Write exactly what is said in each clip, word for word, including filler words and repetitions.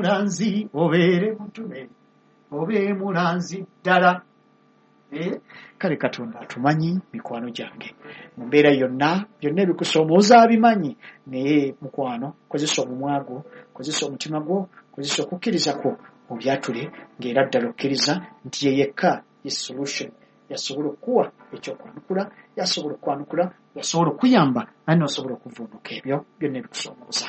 Mulanzi obeere mutume, obe mulanzi ddala. Eh, kale Katonda atumanyi, mikwano gyange, mu mbeera yonna, byonna ebikusoomooza abimanyi. Naye mukwano, kozesa omumwa gwo, kozesa omutima gwo, kozesa okukkiriza kwo, obyatule ng'era ddala okkiriza nti ye yekka ye solution, yasobola okukuwa ekyokwanukula, yasobola okwanukula, yasobola okuyamba, naye nosobola okuvuunuka ebyo byonna ebikusoomooza.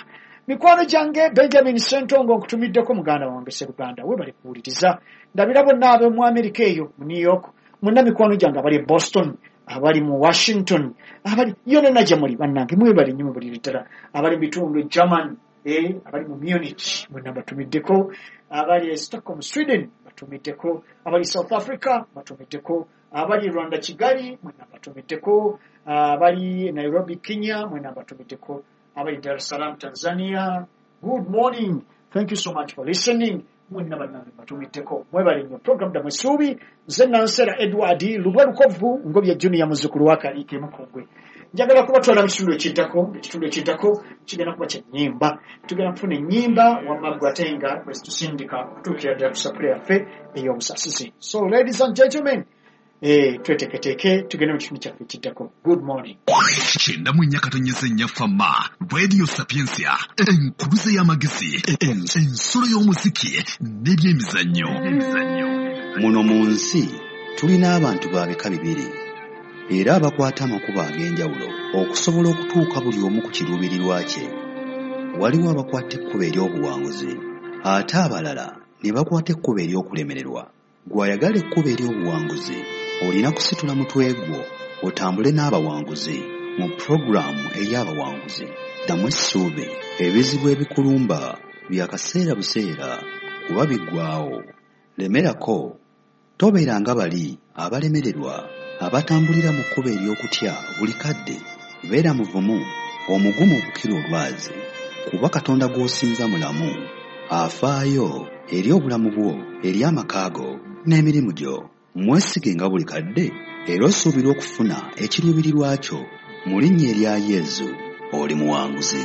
Mikwano gyange, Benjamin Sentongo nkutumiddeko, muganda wange Seruganda, webale kuwuliriza. Ndabira bonna ab'omu Amerika eyo mu New York, mwenna mikwano gyange abali e Boston, abali mu Washington, abali yonna gye muli, bannange mwebale nnyo mubulire ddala. Abali mu bitundu e German, eh, abali mu Munich, mwenna batumiddeko. Abali e Stockholm, Sweden, batumiddeko. Abali South Africa batumiddeko. Abali Rwanda, Kigali, mwenna batumiddeko. Abali Nairobi, Kenya, mwenna batumiddeko. Abali Dar es Salaam, Tanzania, good morning, thank you so much for listening. Mwenna bannange batumiddeko, mwebale nnyo. Program Ddamu Essuubi, nze Nansera Edward Lubwa Lukovu Ngobya Junior, muzzukulu wa Kaliike Mukungwe. Njagala kubatwala mu kitundu ekiddako. Ekitundu ekiddako kigenda kuba kya nnyimba. Tugenda kufuna ennyimba wamma ggwe ate nga bwe tusindika okutuukira ddala ku sapule yaffe ey'obusasizi. So ladies and gentlemen, eh, tweteeketeeke tugende mu kitundu kyaffe ekiddako. Good morning. Kyenda mu nnya katonyeza ennya Fama Radio Sapiensia, enkuluze y'amagezi, ensulo y'omuziki n'ebyemizannyo. Muno mu nsi tulina abantu ba bika bibiri era abakwata amakubo ag'enjawulo okusobola okutuuka buli omu ku kiruubirirwa kye. Waliwo abakwata ekkubo ery'obuwanguzi ate abalala ne bakwata ekkubo ery'okulemererwa. Gw'ayagala ekkubo ery'obuwanguzi olina kusitula mutwe gwo otambule n'abawanguzi mu pulogulaamu ey'abawanguzi. Ddamu essuubi, ebizibu ebikulumba bya kaseera buseera kuba biggwaawo. Lemerako, tobeera nga bali abalemererwa abatambulira mu kkubo ery'okutya buli kadde. Beera muvumu, omugumu okukira olwazi, kuba Katonda gw'osinza mulamu, afaayo eri obulamu bwo, eri amaka go n'emirimu gyo. Mwesige nga buli kadde era osuubirwa okufuna ekiruubirirwa kyo. Mu linnya erya Yezu, oli muwanguzi.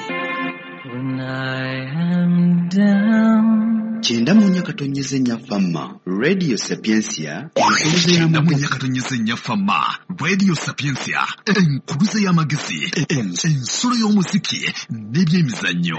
When I am down. Kyenda mu nnya katonyeza ennya Fama Radio Sapiensia, enkuluze Kyenda mu y'amagezi. nnya katonyeza ennya Fama Radio Sapiensia, enkuluze y'amagezi, ensulo y'omuziki n'ebyemizannyo.